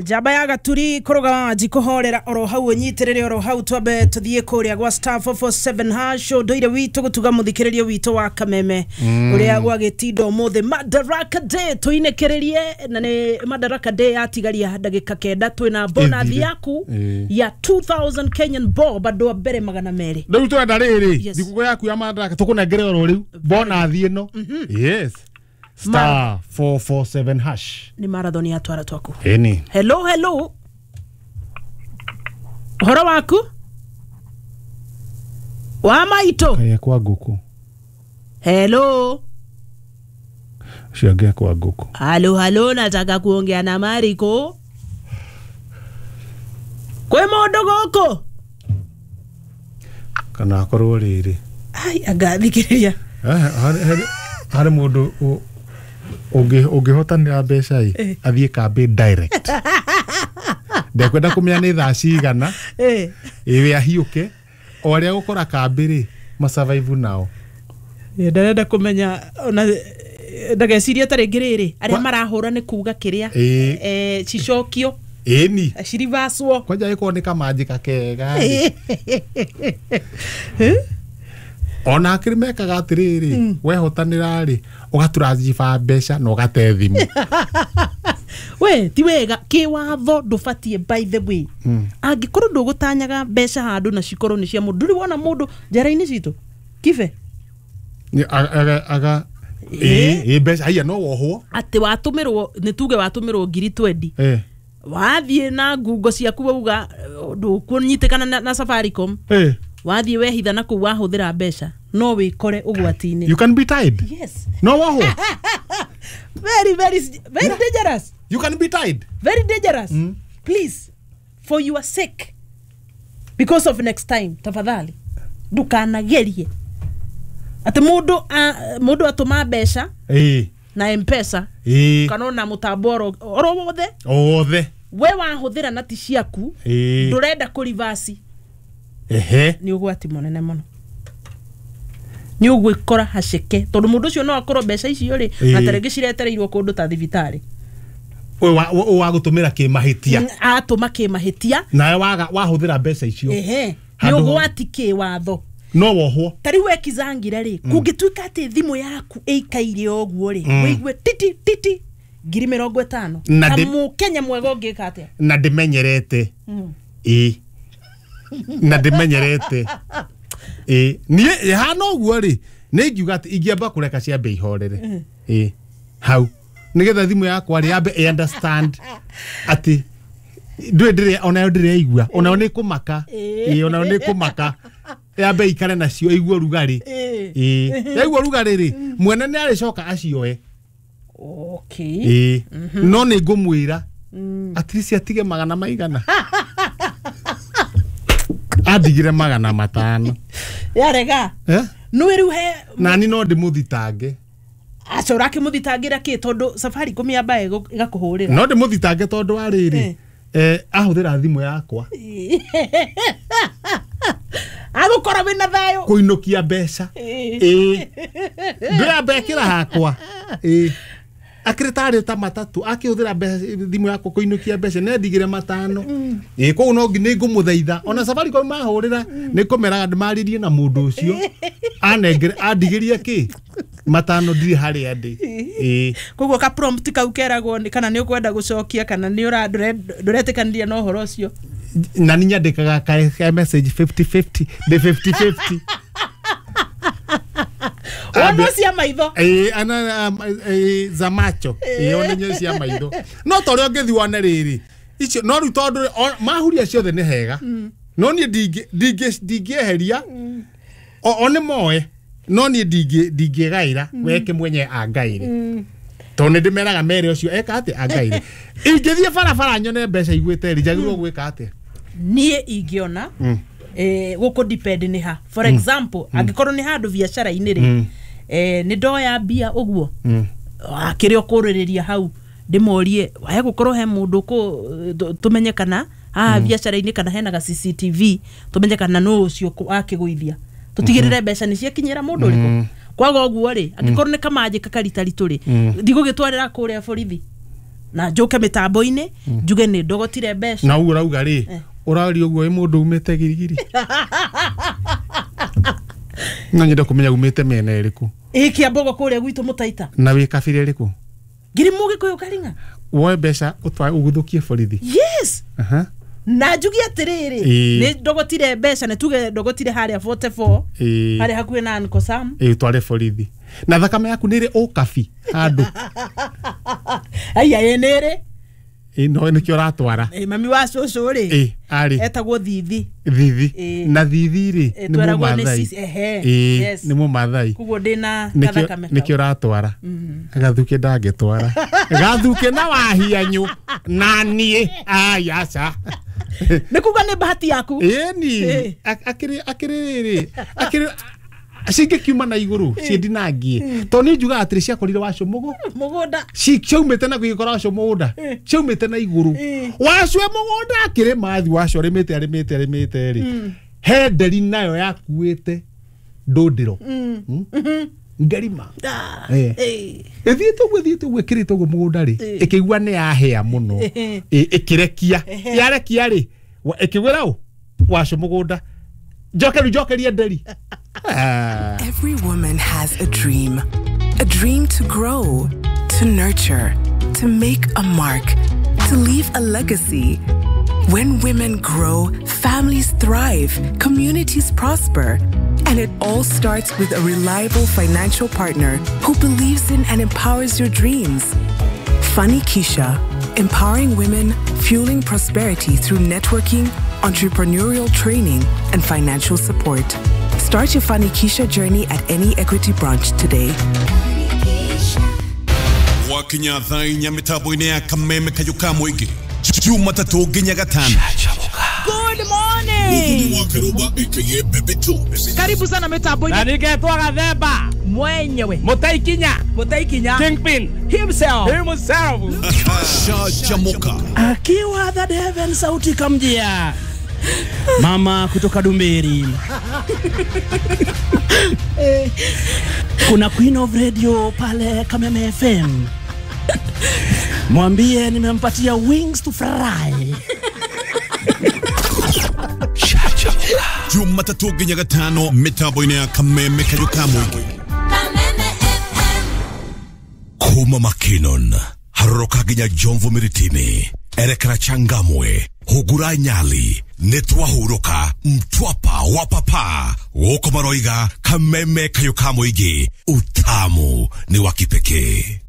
Njamba ya gaturi kũrũgama wanji kũhorera oro hau ũnyitĩrĩre oro hau twambe tũthiĩ kũrĩa gwa *447# ũndũire witũ gũtuga mũthikĩrĩrio witũ wa kameme ũrĩa gwagĩtinda ũmũthĩ Madaraka Day tũinĩkĩrĩrie na nĩ Madaraka Day yatigaria ndagĩka 9 twĩna bonathi Ĩthire. yaku Ĩĩ. ya 2000 Kenyan bob andũ a mbere 200. Rĩu twenda rĩrĩ Yes. thigũkũ yaku ya Madaraka tũkũnengere oro rĩu bonathi ĩno. Yes. *447# Nĩ marathon ya twara twaku. Ĩni. Hello, hello, ũhoro waku wa maitũ? Kaya kwa ngũkũ. Hello. Ũcio angĩ kwa ngũkũ. Halo, halo, nataka kuongea na Mariko. Kwĩ mũndũ gũkũ? Kana akorwo rĩrĩ. Ai, angathikĩrĩria. Harĩ mũndũ ũngĩhotanĩra mbeca ĩ athiĩ kambĩ direct. Ndekwenda kũmenya nĩ thaa cigana ĩwe ahiũke o arĩa gũkora kambĩ rĩ masurvive nao. Ndarenda kũmenya ona ndageciria ta rĩngĩ rĩrĩ arĩa marahũra nĩ kuga kĩrĩa cicokio Ĩni. cirivacwo. Kwanja ĩkorwo nĩ kamanjĩka kega rĩ. Ona akĩrĩ mekaga atĩrĩrĩ wehotanĩra rĩ ũgatũranjiba mbeca na ũgate thimũ. We ti wega kĩwatho ndũbatiĩ, by the way, angĩkorwo ndũgũtanyaga mbeca handũ na cikorwo nĩ cia mũndũ. Ndũrĩ wona mũndũ njera-inĩ citũ kibe? Nĩ aga ĩ ĩ mbeca haiya no wohwo. Atĩ watũmĩrwo, nĩ tuge watũmĩrwo ngiri 20, wathiĩ na ngungo ciaku wauga ndũkũnyitĩkana na Safaricom, wathiĩ wehitha na kũu wahũthĩra mbeca no wĩkore ũgwati-inĩ. You can be tied. Yes. No wohwo. Very, very, very dangerous. You can be tied. Very dangerous. Please, for your sake, because of next time, tafadhali ndukanagerie atĩ mũndũ atũma mbeca na M-Pesa kana ona mũtambo oro wothe Othe. we wahũthĩra na ti ciaku, ndũrenda kũrivasi. Nĩ ũgwati mũnene mũno, nĩ ũgwĩkora haceke tondũ mũndũ ũcio no akorwo mbeca icio rĩ na tarĩngĩ ciretereirwo kũndũ ta thibitarĩ. Ũyũ wa gũtũmĩra kĩmahĩtia. Atũma kĩmahĩtia. Nawe waga wahũthĩra mbeca icio. Ehe, nĩ Handũ- ũgwati kĩwatho. No wohwo. Ta rĩu wekizangire rĩ, kũngĩtuĩka atĩ thimũ yaku ĩikaire ũguo rĩ, wĩigue titi titi 50,000, Na ta mũkenya mwega ũngĩka atĩa? Na ndĩmenyerete. Ĩ na ndĩmenyerete ĩ niĩ hana ũguo rĩ nĩ ingiuga atĩ ingĩamba kũreka ciambe ihorere ĩ hau nĩgetha thimũ yakwa rĩ yambe ĩ understand atĩ ndũĩ ndĩrĩ onayo ndĩreigua onayo nĩ kũmaka ĩ onayo nĩ kũmaka yambe ikare nacio ĩigue ũrugarĩ ĩ yaigua ũrugarĩ rĩ mwene nĩ arĩcoka acioe. Okay. Ĩ no nĩ ngũmwĩra at least atige magana maigana andigire 500. Yarega. Eh? Nĩ rĩu he Nani no ndĩmũthitange. Aca ũrakĩmũthitangĩra kĩ tondũ Safaricom yamba ĩgakũhũrĩra? No ndĩmũthitange tondũ wa rĩrĩ ahũthĩra thimũ yakwa Agũkora wĩna thayũ kũinũkia mbeca ĩ ndĩramba ĩkĩra hakwa ĩ akĩrĩ tarĩ ta matatũ akĩhũthĩra mbeca thimũ yakwa kũinũkia mbeca nĩ andigire 5 ĩ koguo no nĩ ngũmũthaitha ona Safaricom mahũrĩra nĩ kũmeraga ndĩmarĩrie na mũndũ ũcio anengere andigĩrie kĩ 5 ndirĩ harĩa ndĩ ĩ. Koguo ka prompt kau keragwo nĩ kana nĩ ũkwenda gũcokia kana nĩ ndũretĩkanĩria na ũhoro ũcio. Na nĩ nyandĩkaga ka message 50-50 ndĩ 50-50. Wona cia maitho. Ĩ ana za macho ĩ one nyo cia maitho no ta ũrĩa ũngĩthiĩ wone rĩrĩ icio no rĩu tondũ mahuria ciothe nĩ hega no niĩ ndingĩeheria o nĩ moe no niĩ ndingĩgaĩra weke mwenye angaĩre tondũ nĩ ndĩmeraga mere ũcio eka atĩ angaĩre ingĩthiĩ barabara nyone mbeca igwĩte rĩ njagĩrĩirwo gwĩka atĩa? Niĩ ingĩona gũkũ depend nĩ ha, for example, angĩkorwo nĩ handũ biacara-inĩ rĩ, nĩ ndoya mbia ũguo akĩrĩ ũkũrĩrĩria hau ndĩmorie wae gũkorwo he mũndũ tũmenye kana haha biacara-inĩ kana hena ga CCTV tũmenye kana nũ ũcio akĩgũithia tũtigĩrĩre mbeca nĩ ciakinyĩra mũndũ ũrĩkũ. Kwaga ũguo rĩ, angĩkorwo nĩ kamanjĩka karitaritũ rĩ, ndigũgĩtwarĩra kũrĩa borithi. Na njoke mĩtambo-inĩ njuge nĩ ndogotire mbeca. Na ũguo ũrauga rĩ, ũraria ũguo wĩ mũndũ umĩte girigiri. No nyende kũmenya umĩte mĩena ĩrĩkũ. Ĩ Kĩambogo kũrĩa gwitũ Mũtaita. Na wĩ kabira ĩrĩkũ? Ngiri Mũgĩkũyũ Karinga. Woe mbeca ũtware ũguthũkie borithi. Yes. Aha. Na njuge atĩrĩrĩ, nĩ ndogotire mbeca, nĩ tuge ndogotire harĩa 44 harĩa hakuhĩ na Uncle Sam. Ĩ ũtware borithi. Na thakame yaku nĩ ĩrĩ ũkabi handũ. Aya ĩ nĩ ĩrĩ. Ĩ no nĩkĩo ũratwara. Ĩ mami wa cũcũ rĩ. Ĩ arĩ. Etagwo Thithi. Thithi. Na Thithi rĩ nĩ Mũmathai. Ehe. Nĩ Mũmathai. Koguo ndĩna gathakame kau. Nĩkĩo ũratwara. Gathuke ndangĩtwara. Gathuke na wahianyu na niĩ. Aya aca. Nĩ kuga nĩ bahati yaku. Ĩni. Akĩrĩ akĩrĩ akĩrĩ cingĩkiuma na igũrũ ciĩndinangie. Tondũ niĩ njugaga atĩrĩ ciakorire wacu mũgũnda. Ciaumĩte na gũgĩkora wacu mũgũnda. Ciaumĩte na igũrũ. Wacu e mũgũnda akĩrĩma thi wacu arĩmĩte arĩmĩte arĩmĩte rĩ. He nderi nayo yakuĩte ndũndĩro. Ngarima. Ĩthiĩte ũguo ĩthiĩte ũguo ĩkĩrĩte ũguo mũgũnda rĩ, ĩkĩigua nĩ yahĩa mũno. Ĩkĩrekia. Yarekia rĩ, ĩkĩgwĩra ũ? Wacu mũgũnda. Njokeru njokerie nderi. Every woman has a dream. A dream to grow, to nurture, to make a mark, to leave a legacy. When women grow, families thrive, communities prosper. And it all starts with a reliable financial partner who believes in and empowers your dreams. Funny Keisha, empowering women, fueling prosperity through networking, entrepreneurial training, and financial support. Start your Funny Keisha journey at any Equity branch today. Wakinya thaa inya mitambo-inĩ ya Kameme Kayũ ka Mũingĩ Jumatatũ nginya Gatano. Good morning. Karibu sana mitambo-inĩ. Na ningetwo Gathemba mwenyewe. Mũtaikinya. Mũtaikinya. Kingpin himself. Himself. Shajamoka. Akiwa the heaven sauti kamjia. Mama kutoka Dumberi. Kuna Queen of Radio pale Kameme FM. Mwambie nimempatia wings to fry. Jumatatu nginya Gatano mitambo-inĩ ya Kameme Kayũ ka Mũingĩ. Kameme FM. Kuma Makinon haroroka nginya Jomvu Miritini, erekera Changamwe, Hugura Nyali, nĩtwahurũka Mtwapa wa papa gũkũ maroiga Kameme Kayũ ka Mũingĩ, utamu ni wa kipekee.